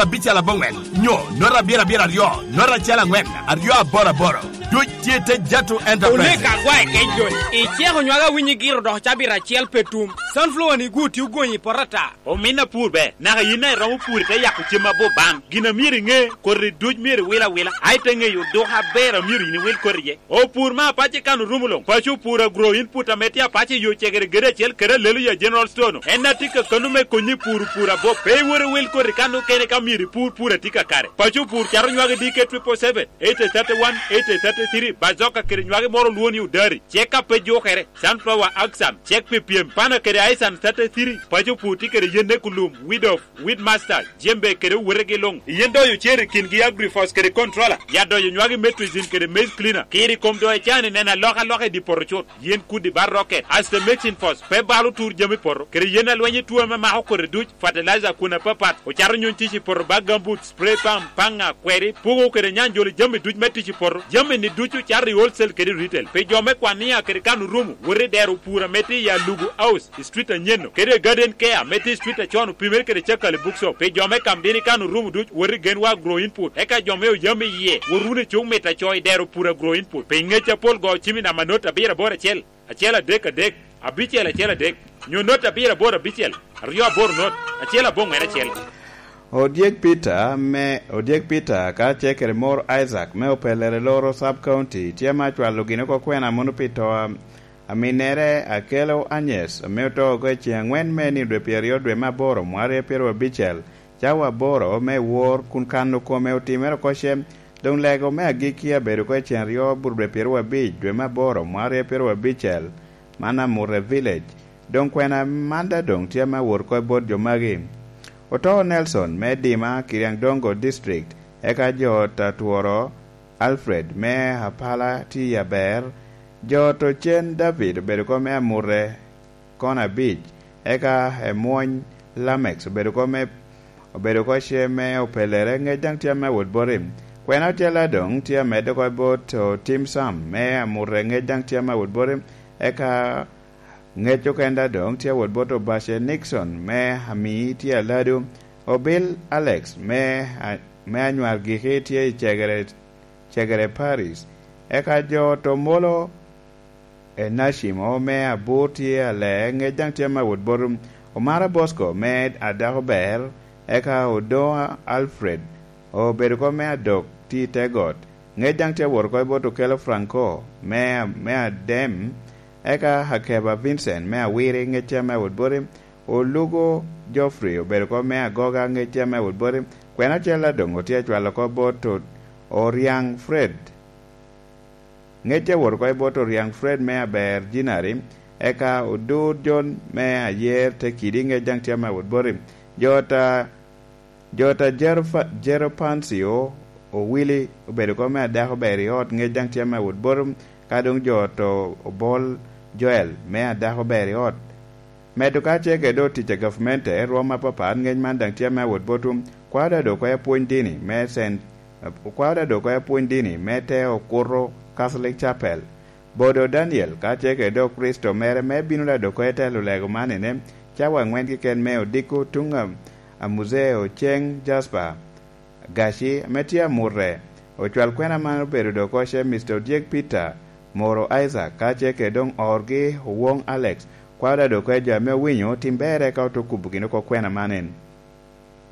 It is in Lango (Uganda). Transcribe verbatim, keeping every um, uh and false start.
abicel aboŋwen, nyo nota abiro abiro aryo, nota acel aŋwen, aryo aboro aboro. Duc tye te Jatu Enterprise. Oneka agwae kec doŋ. Iceko nywage awinyi giro dok cabit acel pe tum. Sunflower ni gu tye ogonyi i poto ata. Omin apur ber, naka yin a iromo pur ite yako cem aboŋ ban. Gin a myero iŋe, koti duc myero iwil awila. A ite ŋeyo duka aber a myero yin iwil koti iye. Opur me apace kan orumo luŋ. Paco opur agro input ame tye apace yo cegere gede acel kede alelo ya General Store-nu. En a tye ka kano me konyi pur opur aboŋ. Pe iwor iwil koti kan okene ka myero ipur pur a tye kakare. Paco opur cato nywage D K triple seven, eight thirty-one, eight thirty-three, bazoka kede nywage moro olwongo ni odari. Cek a pe jukere, sunflower axan, cek pi pyem, pana kede aisan thirty-three. Paco opur tye kede yen ne kulum, weed of, weed master, jembe kede owetegi luŋ. Yen doyo cer i kingi agrifos kede controller. Ya doyo nywagi metrizin kede maize cleaner. Kiri kom doyo cani neno alokaloka i di poto cut. Yen kudi ba rocket, aste mixing force, pe balo tur jami poto, kede yen alweny i tuo ame mako kodi duc, fertilizer kun apapat, ocato nyuny tic i poto ba gambut, spray pump, paŋa, kweri, pugo kede nyanjolo jami duc me tic i poto. Jami ni ducu cato i wholesale kede retail. Pi jo me kwania kede kan orumo, wot i dero pur ame tye i Alugu House, i street anyen-nu, kede Garden Care ame tye i street acon opimere kede Cakali Bookshop. Pi jo me Kamdini kan orumo duc, wot i Genwa Agro Input. Eka jo me Oyam iye, wot wunu i cuk mit aco i dero pur Agro Input. Pi ngec apol go cim i namba not abiro aboro acel, acel adek adek, abicel acel adek, nyo not abiro aboro abicel, aryo aboro not, acel aboŋwen acel. Odyek Peter me, Odyek Peter ka ce kede mor Isaac me Opelere Loro Sub County tye ame acwalo gin oko kwena mono pi to a, aminnere Akelo Anyes ame oto oko i ceŋ aŋwen me nino dwe pyeraryo dwe me aboro mwaka aryo pyeraryo abicel, cawa aboro me wor kun kano kome otimere oko cem. Doŋ lego me agikki abedo oko i ceŋ aryo but dwe pyeraryo abic dwe me aboro mwaka aryo pyeraryo abicel, man Amute Village. Doŋ kwena man daŋ doŋ tye ame awot oko i bot jo magi. Oto Nelson me Dima, Kiriandongo District, eka jo ot Atworo Alfred me Apala tye i aber, jo ot Ocen David obedo oko me Amute kono abic, eka Emwony Lamex obedo oko me, obedo oko ce me Opelere, ŋec daŋ tye ame awot boti. Kwena ocel a doŋ tye amedde oko i bot Otim Sam me Amute, ŋec daŋ tye ame awot boti, eka ŋec okenda doŋ tye awot bot Obace Nixon me Ami tye Aladu, Obil Alex me, a-, me Anywar Giki tye i Cegere, Cegere Paris, eka jo ot Omolo Enacimo me Abur tye Alee, ŋec daŋ tye ame awot bot Omara Bosco me Adako Ber, eka Odoŋo Alfred obedo oko me Adok tye i te got, ŋec daŋ tye awot oko i bot Okelo Franco me, me Adem, eka Akeba Vincent me Awiri, ŋec tye ame awot boti, Olugo Geoffrey obedo oko me Agoga, ŋec tye ame awot boti, kwena ocel a doŋ otye acwalo oko bot O-, Oriaŋ Fred. Ŋec tye awot oko i bot Oriaŋ Fred me Aber Jinari, eka Odur John me Ayer Tekidi, ŋec daŋ tye ame awot boti. Jo ot a, jo ot a Jeropa-, Jeropancio Owili obedo oko me Adako Ber i ot, ŋec daŋ tye ame awot boti, ka doŋ jo ot o-, Obol Joel me Adako Ber i ot. Medo ka ce kede otic a gavmente, rwom apapat, ŋec man daŋ tye ame awot botwu. Kwao daŋ dok oko i apwony dini me Saint, kwao daŋ dok oko i apwony dini me te Okuto Catholic Chapel. Bodo Daniel, ka ce kede dok Kricito mere me bino daŋ dok oko i telo lego man ene, cawa aŋwen keken me odiko tuŋ a, a Muzee Oceng Jasper. Gaci, ame tye Amute, ocwal kwena man obedo dok oko ce Mister Odyek Peter, Moro Isaac, ka ce kede doŋ orgi Owoŋ Alex, kwao daŋ dok oko i jo ame owinyo tim berre ka oto kubo gin oko kwena man en.